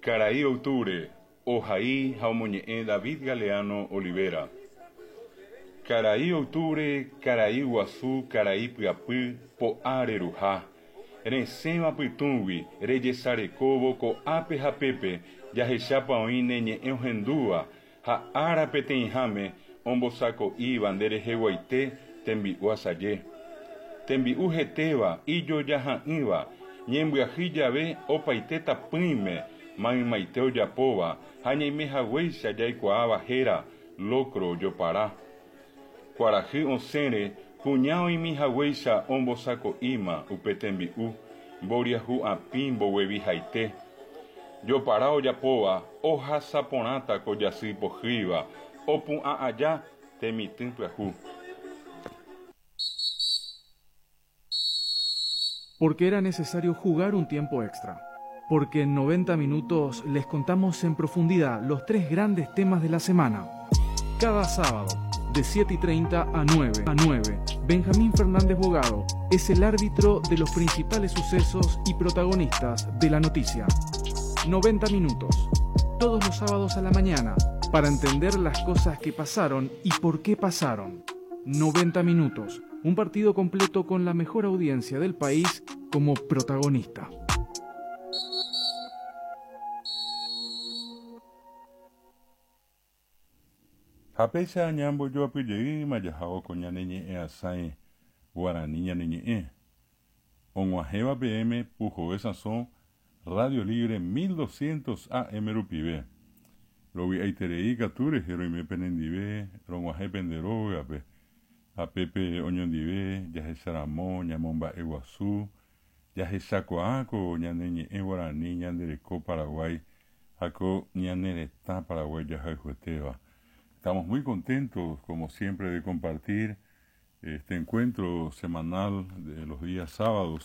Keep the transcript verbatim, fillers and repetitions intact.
Karai Octubre, ohai ha omoñe'ẽ David Galeano Olivera. Karai Octubre, karai guasu, karai pyapy, po'a reruha. Resẽva pytũgui, rejesarekóvo ko'ápe ha pépe, jahechápa oĩ ne ñe'ẽ ohendúva ha ára peteĩháme ombosako'íva ndereheguaite tembi'u asaje. Tembi'u hetéva, ijojaha'ỹva, ñembyahýi jave opaite tapỹime maymaite ojapóva ha ñaimehaguéicha jaikuaáva héra locro jopara. Kuarahy osẽre kuña oĩmihaguéicha ombosako'íma upe tembi'u, mboriahu apĩ mboguevihaite. Jopara ojapóva ohasaporãta ko jasy pohýiva, opu'ã aja temitỹ pyahu. Porque era necesario jugar un tiempo extra. Porque en noventa minutos les contamos en profundidad los tres grandes temas de la semana. Cada sábado, de siete y treinta a nueve, a nueve, Benjamín Fernández Bogado es el árbitro de los principales sucesos y protagonistas de la noticia. noventa minutos, todos los sábados a la mañana, para entender las cosas que pasaron y por qué pasaron. noventa minutos, un partido completo con la mejor audiencia del país como protagonista. Ha péicha ñambojoapyjeýma jahávo ko ñane ñe'ẽ asãi guarani ñane ñe'ẽ. Og̃uahẽva peẽme Puhoe Sasõ Radio Libre mil doscientos A M rupive. Rovy'aiterei katu rehe roime penendive, rog̃uahẽ pende rógape, ha pépe oñondive jahecharamo ñamomba'eguasu, jahechakuaa ko ñane ñe'ẽ guarani ñande reko Paraguái ha ko ñane retã Paraguái jahayhuetéva. Estamos muy contentos, como siempre, de compartir este encuentro semanal de los días sábados